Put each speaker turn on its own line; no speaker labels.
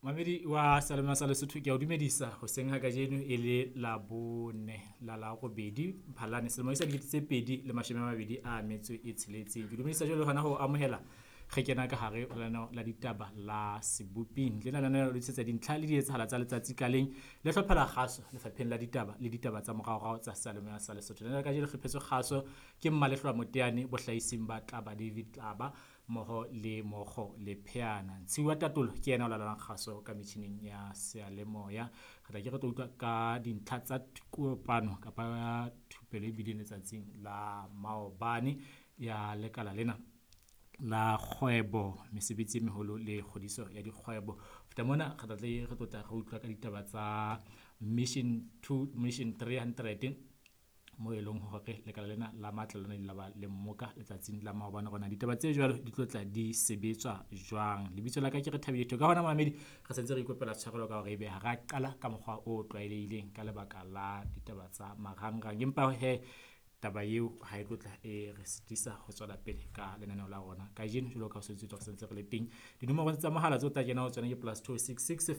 Mamedi wa Salema sa Lesotho, ke a o dumedisa hoseng ha kajeno e le Labone la la robedi Mphalane selemo sa 2026. Ke dumedisa jwalo hona ho amohela re kena ka hare ho lenaneo la ditaba la Seboping. Lena lenaneo le tlisetsa dintlha le dietsahala tsa letsatsi ka leng le hlophela kgaso lefapheng la ditaba le ditaba tsa moraorao tsa Salema sa Lesotho. Lenaneo la kajeno le hlophetswe kgaso ke Mmalehloa Moteane bohlahising ba Tlaba David Tlaba mmoho le Mokgo le Pheana. Ntshiwa Tatolo ke yena o laolang kgaso ka metjhining ya seyalemoya. Re tla ke re tlo utlwa ka dintlha tsa kopano kapa ya thupelo e bileng letsatsing la maobane ya lekala lena la kgwebo, mesebetsi e meholo le kgodiso ya dikgwebo. Feta mona re tla tle re tlotla re utlwa ka ditaba tsa Mission 2, Mission 300 mo e leng hore lekala lena la matla lona le ba le mmoka letsatsing la maobane rona ditaba tse jwalo di tlo tla di sebetswa jwang. Lebitso la ka ke Rethabile Ka hona mamedi re sentse re ikopela tshwarelo ka hore ebe ha ra qala ka mokgwa o tlwaelehileng ka lebaka la ditaba tsa marangrang, empa he taba eo ha e tlotla e re sitisa ho tswela pele ka lenaneo la rona kajeno. Jwalo ka ho sentse re sentse re le teng, dinomoro tsa mohala tseo tla kena ho tsona ke +266.